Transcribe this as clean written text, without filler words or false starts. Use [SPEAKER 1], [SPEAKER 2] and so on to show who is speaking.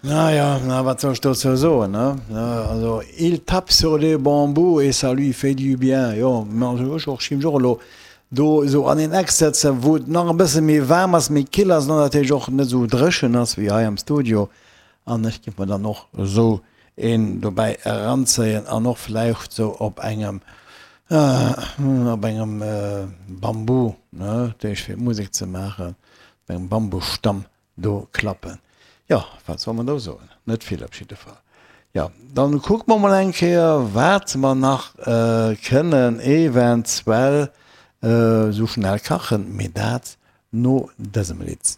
[SPEAKER 1] Naja, na wat soll ech dozou soen, ne? Also, il tape sur les bambous et ça lui fait du bien. Jo, mä also ech och, ech géif mech och elo do esou an een Eck sëtzen, wou et nach e bësse méi waarm ass, méi kill ass an natierlech och net esou dréchen ass wéi hei am Studio. An ech géif mer dann och esou een dobäi eranzéien an och vläicht esou op engem, op engem Bambu, ne, dat heescht fir Musek ze maachen, op engem Bambusstamm Do klappen. Jo, wat soll mer do soen? Net vill op jidde Fall. Jo, dann kucke mer mol eng Kéier, wat mer nach kënnen eventuell esou schnell kachen, mee dat no dësem Lidd.